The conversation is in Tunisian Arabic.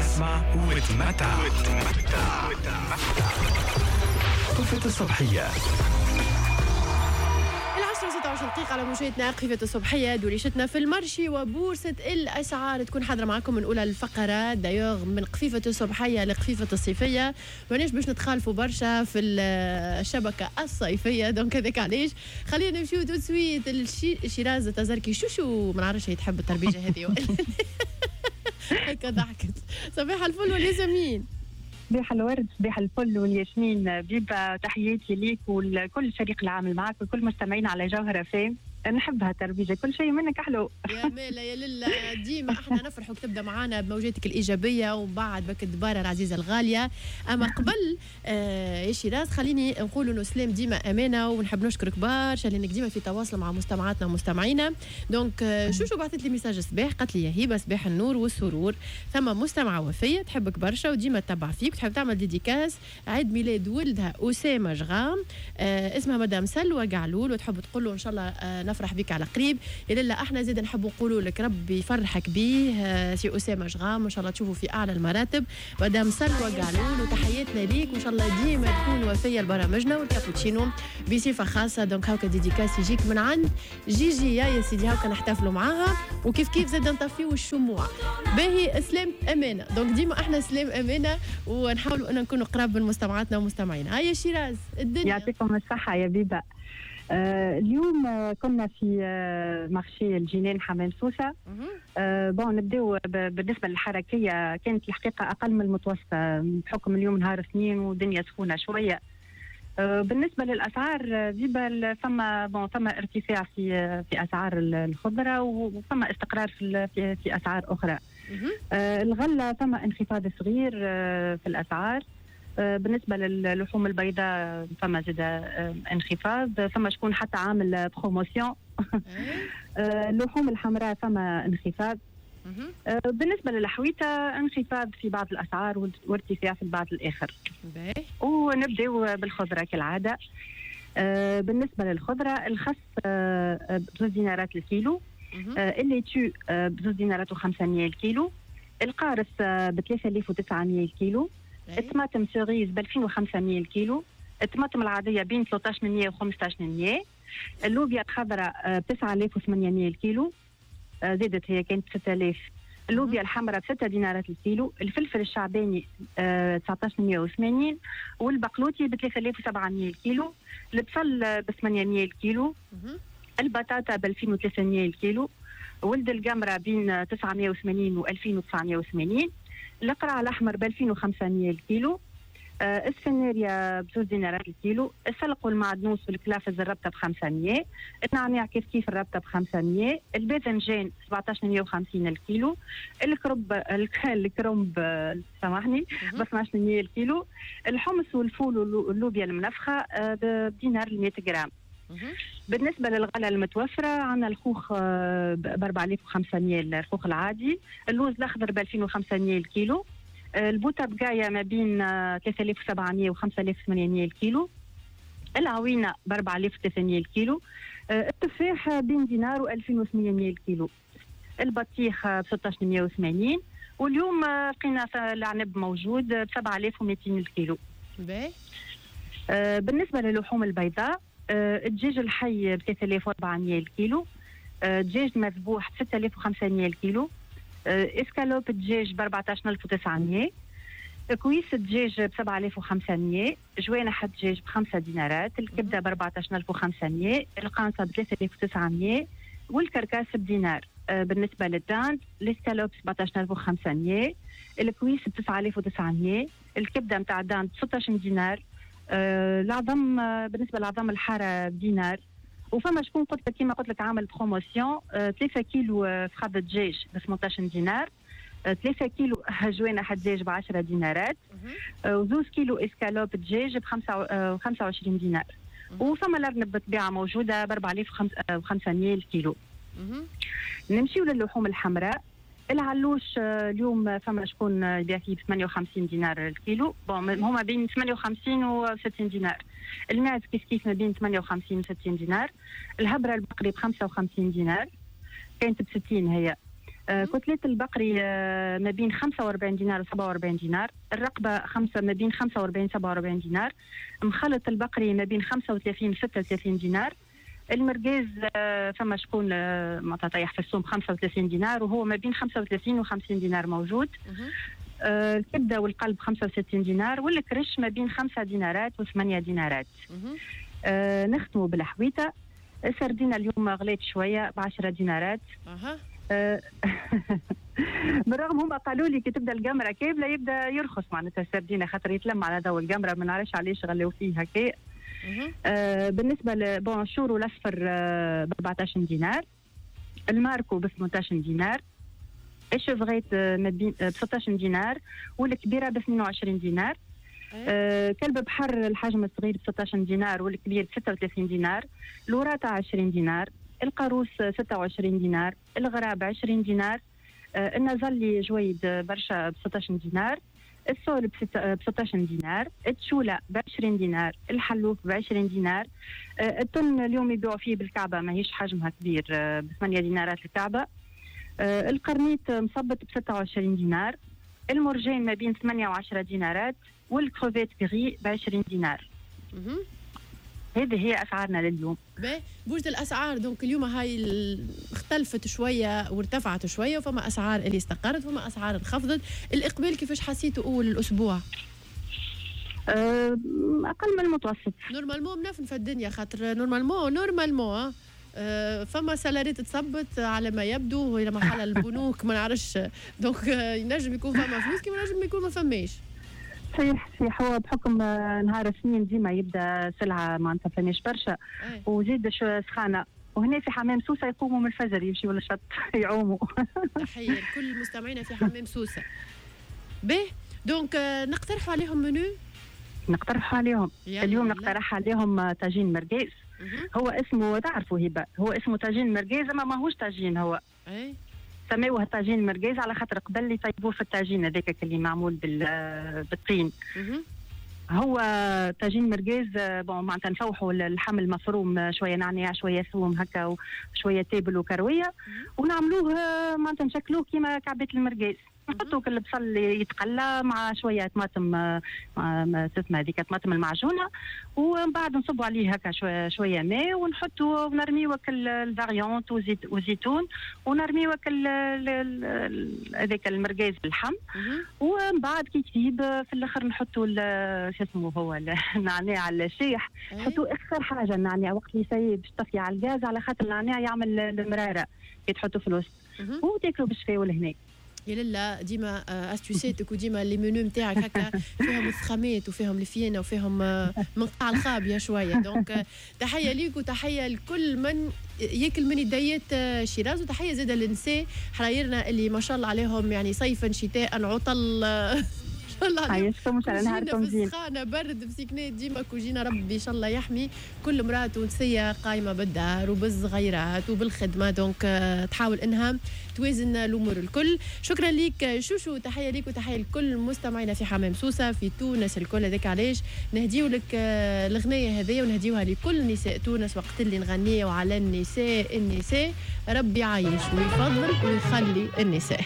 اسمع وتمتع. قفة الصبحية. 10:26 على مشاهدتنا قفة الصبحية، دوريشتنا في ال marché وبورصة الأسعار تكون حاضرة معكم من أولى الفقرات. d'ailleurs من قفيفة الصبحية لقفيفة الصيفية، ماناش باش نتخالفوا برشا في الشبكة الصيفية، donc هذاك علاش خلينا نمشيو tout de suite شيراز تزركي شوشو، ما نعرفش هي تحب التربيجة هذه ولا هكا ضحكت. صباح الفل والياسمين. صباح الورد، صباح الفل والياسمين بيبا، تحياتي ليك ولكل فريق العامل معك وكل مستمعين على جوهرة فام. نحبها تربيجة، كل شيء منك حلو. يا مالا يا للا، ديما احنا نفرحوا تبدا معانا بموجاتك الايجابية ومن بعد بك الدباره العزيزة الغالية. اما قبل يا شيراز خليني نقول انه سلام ديما امانه، ونحب نشكرك برشا لانك ديما في تواصل مع مستمعاتنا ومستمعينا. donc شوشو بعثت لي message الصباح، قالت لي يا هبه صباح النور والسرور، ثم مستمعه وفيه تحبك برشا وديما تتبع فيك وتحب تعمل dédicace عيد ميلاد ولدها اسامة جغام، اسمها مدام سلوى قعلول، وتحب تقول له ان شاء الله نفرح بك على قريب. يا للا احنا زيد نحب نقولوا لك ربي يفرحك به سي اسامة جغام، وان شاء الله تشوفوا في اعلى المراتب. مدام سلوى قعلول وتحياتنا ليك، وان شاء الله ديما تكون وفيه لبرامجنا والكابوتشينو بصفة خاصة. donc هاكا dédicace يجيك من عند جيجي يا سيدي، هاكا نحتفلوا معاها وكيف كيف زاد نطفيو الشموع. باهي سلام امانه، donc ديما احنا سلام امانه ونحاولوا ان نكونوا قراب من مستمعاتنا ومستمعينا. هيا شيراز الدنيا. يعطيكم الصحة يا بيبا. اليوم كنا في marché الجنان حمام سوسة. Bon نبداو بالنسبة للحركية، كانت الحقيقة أقل من المتوسطة بحكم اليوم نهار اثنين والدنيا سخونة شوية. بالنسبة للأسعار بيبا فما bon فما ارتفاع في أسعار الخضرة وفما استقرار في أسعار أخرى. الغلة فما انخفاض صغير في الأسعار. بالنسبة للحوم البيضاء فما زاد انخفاض، فما شكون حتى عامل promotion. اللحوم الحمراء فما انخفاض. بالنسبة للحويته انخفاض في بعض الاسعار وارتفاع في البعض الاخر. ونبداو بالخضره كالعادة. بالنسبة للخضره الخس ب2 دينارات الكيلو، ال laitue ب2 دينارات و500 الكيلو، القارص ب 3900 الكيلو، الطماطم cerise ب 2500 الكيلو، الطماطم العادية بين 1300 و 1500، اللوبيا الخضراء ب 9800 الكيلو، زادت هي كانت 6000، اللوبيا الحمراء ب 6 دينارات الكيلو، الفلفل الشعباني 1980 والبقلوتي ب 3700 الكيلو، البصل ب 800 الكيلو، البطاطا ب 2300 الكيلو، ولد القمره بين 980 و 2980، القرع الاحمر ب 2500 الكيلو، السفناريا ب2 دينارات الكيلو، السلق والمعدنوس والكلافز الربطه ب 500، النعناع كيف كيف الربطه ب 500، الباذنجان 1750 الكيلو، الكرنب سامحني ب 1200 الكيلو، الحمص والفول واللوبيا المنفخه بدينار 100 غرام. بالنسبة للغلة المتوفرة عندنا الخوخ ب 4500 الخوخ العادي، اللوز الأخضر ب 2500 الكيلو، البوطة بقايا ما بين 3700 و 5800 الكيلو، العوينة ب 4300 الكيلو، التفاح بين دينار و 2800 الكيلو، البطيخ ب 1680، واليوم لقينا العنب موجود ب 7200 الكيلو. باهي. بالنسبة للحوم البيضاء الدجاج الحي ب 3400 الكيلو، دجاج مذبوح ب 6500 الكيلو، اسكالوب الدجاج ب 14900، cuisse الدجاج ب 7500، جوانح الدجاج ب 5 دينارات، الكبده ب 14500، القانصه ب 3900 وال carcasse بدينار. بالنسبة لل dinde ال escalope 17500، ال cuisse ب 9900، الكبده نتاع ال dinde ب 16 دينار، العظم بالنسبة للعظم الحارة بدينار. وفما شكون قلت لك كيما قلت لك عامل promotion، 3 كيلو فخاد دجاج ب 18 دينار، 3 كيلو جوانح دجاج ب 10 دينارات، وزوز كيلو اسكالوب دجاج ب 25 دينار. وفما الارنب بالطبيعة موجودة ب 4500 الكيلو. نمشيو للحوم الحمراء. العلوش اليوم فما شكون يبيع فيه ب 58 دينار الكيلو، bon هما بين 58 و 60 دينار. الماعز كيف كيف ما بين 58 و 60 دينار. الهبره البقري ب 55 دينار، كانت ب 60 هي. côtelette البقري ما بين 45 دينار و 47 دينار، الرقبة خمسة ما بين 45 47 دينار، مخلط البقري ما بين 35 36 دينار، المرقاز فما شكون معناتها طيح في السوم 35 دينار وهو ما بين 35 و 50 دينار موجود. الكبده والقلب 65 دينار، والكرش ما بين 5 دينارات و 8 دينارات. نختموا بالحويته. السردينه اليوم غليت شوية ب 10 دينارات. بالرغم هما قالوا لي كي تبدا القمره كاملة يبدا يرخص معناتها السردينه، خاطر يتلم على ضوء القمره، ما نعرفش علاش غلاو فيه هكا. بالنسبة bon الشورو الاصفر ب 14 دينار، الماركو ب 18 دينار، ال chevrette ما بين ب 16 دينار والكبيرة ب 22 دينار. كلب بحر الحجم الصغير ب 16 دينار والكبير ب 36 دينار، الوراطة 20 دينار، القاروص 26 دينار، الغراب 20 دينار، النزلي جويد برشا ب 16 دينار، ال sole ب 16 دينار، التشوله ب 20 دينار، الحلوف ب 20 دينار، التن اليوم يبيعوا فيه بالكعبة ماهيش حجمها كبير ب 8 دينارات الكعبة، القرنيط مصبت ب 26 دينار، المرجان ما بين 8 و 10 دينارات، وال crevette grise ب 20 دينار. هذه هي اسعارنا لليوم. باهي، بوجد الاسعار donc اليوم هاي اختلفت شوية وارتفعت شوية، وفما اسعار اللي استقرت وفما اسعار انخفضت. الاقبال كيفاش حسيتوا اول الاسبوع؟ اقل من المتوسط. normalement منفنفه الدنيا، خاطر normalement فما salaires تصبت على ما يبدو الى محل البنوك ما نعرفش، donc ينجم يكون فما فلوس كيما ينجم يكون ما فماش. صحيح صحيح، هو بحكم نهار الاثنين ديما يبدا سلعه معناتها فماش برشا، وزيد سخانه، وهنا في حمام سوسة يقوموا من الفجر يمشيوا للشط يعوموا. تحية لكل مستمعينا في حمام سوسة. به donc نقترحوا عليهم منو؟ نقترحوا عليهم اليوم نقترح عليهم طاجين مرقاز. هو اسمه تعرفوا هبه، هو اسمه طاجين مرقاز اما ماهوش طاجين، هو اي سماوه طاجين مرقاز على خاطر قبل يطيبوه في الطاجين هذاك اللي معمول بالطين. هو طاجين مرقاز bon معناتها نفوحوا اللحم المفروم شوية نعناع شوية ثوم هكا وشوية تابل وكرويه، ونعملوه معناتها نشكلوه كيما كعبات المرقاز، نحطوا كل البصل يتقلى مع شوية طماطم تسمى هذيك طماطم المعجونه، ومن بعد نصبوا عليه هكا شوية ماء ونحطوا ونرميو ال variantes وزيت وزيتون، ونرميو هذاك المرقاز باللحم، ومن بعد كي تطيب في الاخر نحطوا شو اسمه هو النعناع الشايح، نحطوا اخر حاجة النعناع وقت اللي يسيب باش تطفي على الغاز، على خاطر النعناع يعمل المرارة كي تحطوا في الوسط، وتاكلوا بالشفاء والهنا. يا لالا ديما astuce اتك وديما les menus نتاعك هكا فيهم الثخامات وفيهم الفيانه وفيهم من قاع الخابيه شوية، donc تحية ليك وتحية لكل من ياكل من يديات شيراز، وتحية زاده للنساء حرايرنا اللي ما شاء الله عليهم، يعني صيفا شتاء عطل ان شاء الله عليكم كوجينة في السخانه برد مسكنات ديما كوجينه، ربي ان شاء الله يحمي كل امراة تونسية قايمة بالدار وبالصغيرات وبالخدمه، donc تحاول انها توازن الامور الكل. شكرا ليك شوشو، تحية ليك وتحية لكل مستمعينا في حمام سوسة في تونس الكل. هذاك علاش نهديو لك الغنية هذيا ونهديوها لكل نساء تونس وقت اللي نغنيو على النساء، النساء ربي يعيش ويفضل ويخلي النساء.